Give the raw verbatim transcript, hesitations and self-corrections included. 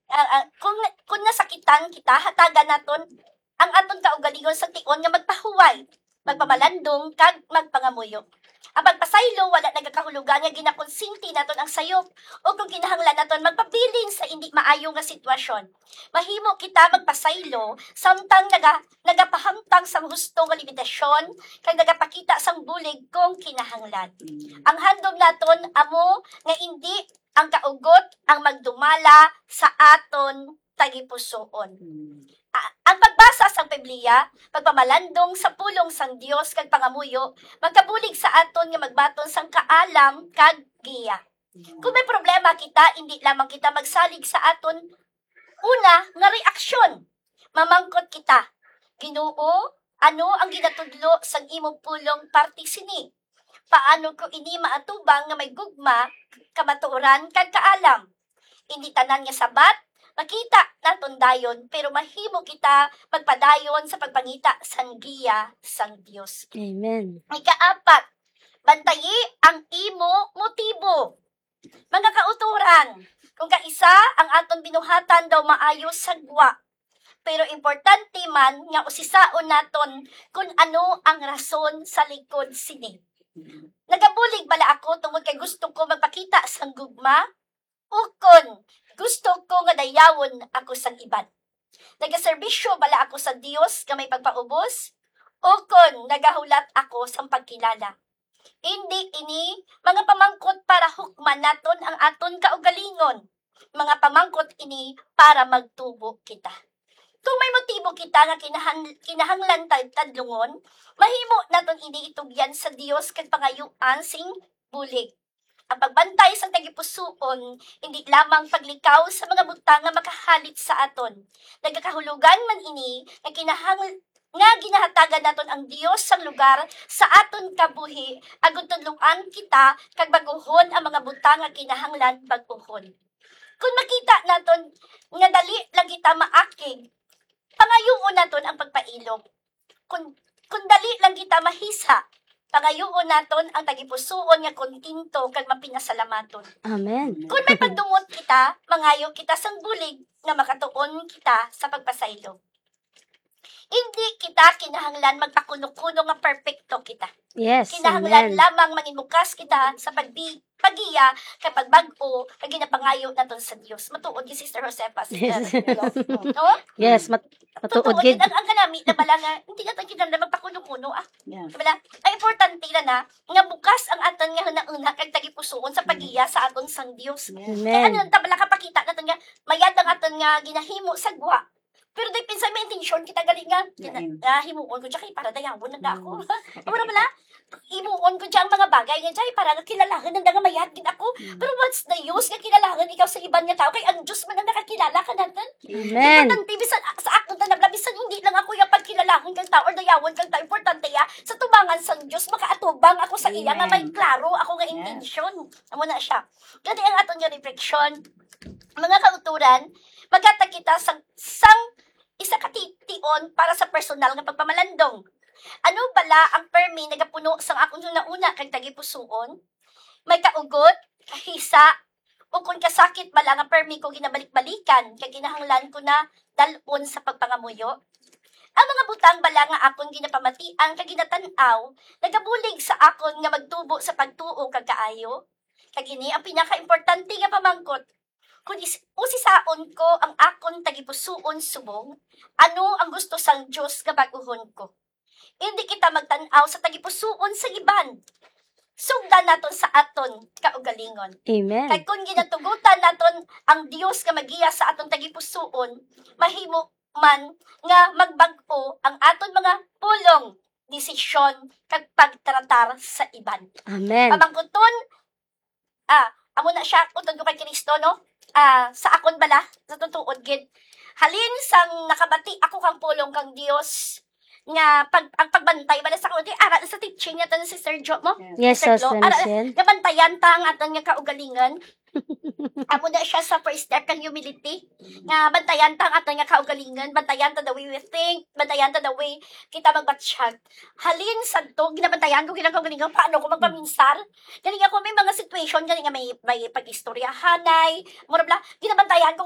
Ah, ah, kung, kung nasakitan kita, hatagan naton ang aton kaugalingon sa tion nga magpahuway, magpamalandong, kag magpangamuyo. Ang pagpasaylo wala nagakahulugan nga ginakonsinti naton ang sayop o kung kinahanglan naton magpabilin sa indi maayo nga sitwasyon. Mahimo kita magpasaylo samtang naga-, nagapahamtang sang husto nga limitasyon kag nagapakita sang bulig kung kinahanglan. Ang handom naton amo nga indi ang kaugot ang magdumala sa aton tagipusoon. A-, ang pagbasa sang Biblia, pagpamalandong sa pulong sang Dios kag pangamuyo, magkabulig sa aton nga magbaton sang kaalam kag giya. Kung may problema kita, indi lamang kita magsalig sa aton una nga reaksyon. Mamangkot kita, "Ginoo, ano ang ginatudlo sang imo pulong parte sini? Paano ko ini maatubang nga may gugma, kamatuoran, kag kaalam?" Indi tanan nga sabat makita naton dayon, pero mahimo kita magpadayon sa pagpangita sang giya sang Dios. Amen. Ikaapat, bantayi ang imo motibo. Mga kautoran, kung kaisa ang aton binuhatan daw maayo sa gwa, pero importante man nga usisaon naton kun ano ang rason sa likod sini. Nagabulig bala ako tungod kay gusto ko magpakita sang gugma, ukon gusto ko nga dayawon ako sang iban? Nagaserbisyo bala ako sa Dios nga may pagpaubos, ukon nagahulat ako sang pagkilala? Indi ini mga pamangkot para hukman naton ang aton kaugalingon. Mga pamangkot ini para magtubo kita. Kung may motibo kita nga kinahan-, kinahanglan ta-, tadlungon, mahimo naton ini itugyan sa Dios kag pangayuan sing bulig. Ang pagbantay sang tagipusoon, indi lamang paglikaw sa mga butang nga makahalit sa aton. Nagakahulugan man ini nga kinahang-, nga ginahatagan naton ang Dios sang lugar sa aton kabuhi, agud tudloan kita kag bag-uhon ang mga butang nga kinahanglan bag-uhon. Kung makita naton nga dali lang kita maakig, pangayuon naton ang pagpailog. Kung, kung dali lang kita mahisa, pangayuon naton ang tagipusoon nga kontento kag mapinasalamaton. Amen. Kung may pagdumot kita, mangayo kita sang bulig nga makatuon kita sa pagpasaylo. Hindi kita kinahanglan magpakuno-kuno nga perpekto kita. Yes. Kinahanglan Amen. lamang manginbukas kita sa pagbi-, paggiya kag pagbag-o nga ginapangayo naton sa Dios. Matuod gid, Sister Josefa, Sister Yes. Milo. No? Yes, mat matuod Totoo gid. Gid ang, ang kanami na bala nga hindi naton kinahanglan magpakuno-kuno, ah. Yeah. Bala, ang importante na na nga bukas ang aton nga hunahuna kag tagipusoon sa paggiya sa aton sang Dios. Yes. Kaya ano Amen. lang ta bala kapakita naton nga mayad ang aton nga ginahimo sa gwa. Pero di pinsan may intensyon kita gali nga Lain. nga himuon ko siya kay para dayawon na ako. Mm. Wala bala? Himuon ko siya ang mga bagay nga siya para nga kilalahan ang nga mayad gid ako. Mm. Pero what's the use nga kilalahan ikaw sa iban nga tao kay ang Dios man ang nakakilala ka natin? Amen. Importante, bisan sa akon tanabla, bisan hindi lang ako yung pagkilalahan kang tao or dayawon kang tao, importante ya, sa tubangan sang Dios, makaatubang ako sa iya nga may Amen. Klaro ako nga Yes. intensyon. Amo na siya. Gani ang aton nga reflection, mga kauturan, maghatag kita sang, sang isa ka ti-, tion para sa personal nga pagpamalandong. Ano bala ang permi nagapuno sang akong hunauna kag tagipusoon? May kaugot, kahisa, o kon kasakit bala nga permi ko ginabalik-balikan kag kinahanglan ko na dal-on sa pagpangamuyo? Ang mga butang bala nga akon ginapamatian kag ginatan-aw nagabulig sa akon nga magtubo sa pagtuo kag kaayo? Kag ini ang pinakaimportante nga pamangkot. Kon is-, usisaon ko ang akon tagipusoon subong, ano ang gusto sang Dios nga bag-uhon ko? Indi kita magtan-aw sa tagipusoon sa iban. Sugdan naton sa aton kaugalingon. Amen. Kag kung ginatugutan naton ang Dios nga magiya sa aton tagipusoon, mahimo man nga magbag-o ang aton mga pulong, desisyon, kag pagtratar sa iban. Amen. Pamangkuton, ah, amo na siya, utod ko kay Kristo, no? Ah, sa akon bala, sa tutuod gid. Halin sang nakabati ako kang pulong kang Dios, nga pag, ang pagbantay bala sa kundi, ara sa teaching nato ni Sister Jo mo? Yes, Sister Sister Flo, ara, Michelle. Nabantayan ta ang aton nga kaugalingon. Amo na siya sa first step kang humility. Nga bantayan ta ang aton nga kaugalingon, bantayan ta the way we think, bantayan ta the way kita magbatsyag. Halin sadto, ginabantayan ko ginang kaugalingon, paano ko magpaminsar? Gani ako may mga situation, gani nga may, may pag-istoryahanay, mura bla, ginabantayan ko kung